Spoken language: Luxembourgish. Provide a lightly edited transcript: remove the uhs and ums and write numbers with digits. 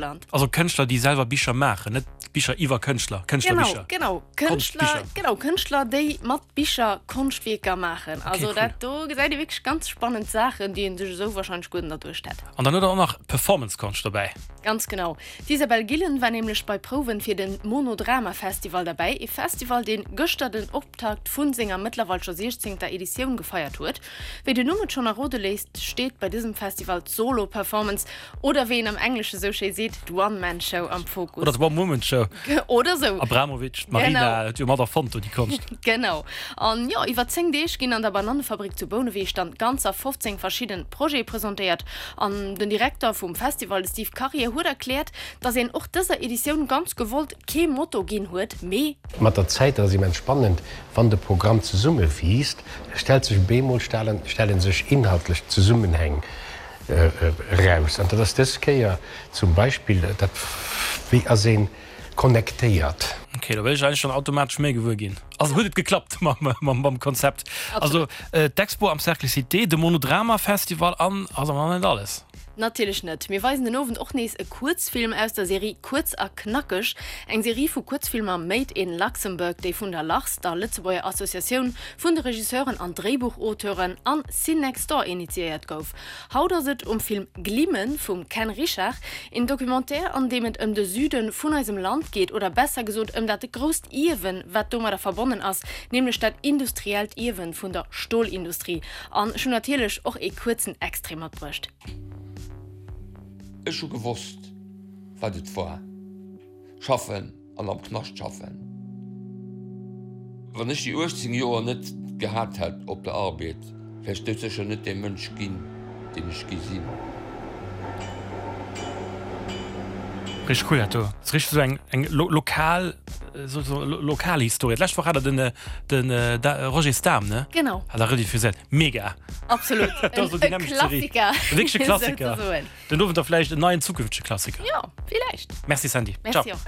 Land. Also Kënschtler, déi selwer Bicher maachen, net Bicher iwwer Kënschtler, Kënschtlerbicher. Genau, genau, Kënschtler, genau, Kënschtler, déi mat Bicher Konschtwierker maachen. Okay, also cool. dat do gesäit ee wierklech ganz spannend Saachen, déi ee sech esou warscheinlech guer net erduecht hätt. An dann huet der och nach Performance-Konscht dobäi. Ganz genau. D'Isabel Gillen war nämlech bei Prouwen fir den Monodrama Festival derbäi, ee Festival, deen gëschter den Optakt vun senger mëttlerweil scho 16. Editioun gefeiert huet. Wéi den Numm et schonn errode léisst, steet bei dësem Festival d'Solo-Performance, oder wéi een am Englesche sou schéi seet, d'One-Man-Show am Fokus. Oder d'One-Woman-Show. Oder sou. Abramovic, d'Marina, genau. Huet jo mat erfonnt do déi Konscht. Genau. An jo, iwwer 10 Deeg ginn an der Banannefabrik zu Bouneweg dann ganzer 15 verschidden Projete presentéiert. An den Direkter vum Festival, de Steve Karier, huet erkläert, dass een och dëser Editioun ganz gewollt kee Motto ginn huet, mee. Mat der Zäit, dat ass immens spannend, wann de Programm zesumme wiisst, stellt sech bemol stelle sech inhaltlech Zesummenhäng eraus. An dat ass dës Kéier zum Beispill dat, wéi ass ee connectéiert. Ok, do wëll ech eigentlech dann automatesch méi gewuer ginn. Also huet et geklappt mam Konzept. Also d'Expo am Cercle Cité, de Monodrama Festival an ass awer nach net alles. Natierlech net. Mir weisen den Owend och nees e Kuerzfilm aus der Serie Kuerz a Knackeg, eng Serie vu Kuerzfilmer Made in Luxembourg, déi vun der LARS, der Lëtzebuerger Associatioun vun de Regisseuren an Dréibuchauteuren, an Cinextdoor initiéiert gouf. Haut ass et um Film Glimmen vum Ken Richard, een Documentaire an deem et ëm de Süde vun eisem Land geet, oder besser gesot ëm dat grousst Ierwen, wat domadder verbonnen ass, nämlech dat industriellt Ierwen vun der Stolindustrie. An ech hunn natierlech och ee kuerzen Extrait matbruecht. Ech hu gewosst, wat et war. Schaffen an am Knascht schaffen. Wann ech déi 18 Joer net gehat hätt op der Arbed, wär ech doudsécher net dee Mënsch ginn, deen ech gi sinn. Richteg cool dat do. Ass richteg sou eng eng lokal sou sou Lokalhistorie. D'lescht Woch hat der den den Roger Stam ne? Genau. Hat der rediffuséiert. Mega. Absolut. Dat ass sou déi nämmlecht Serie. Klassiker. Wierklech e Klassiker. Souzesoen. Den Owend da vläicht en neien zukünftege Klassiker. Jo, villäicht. Merci Sandy. Merci och.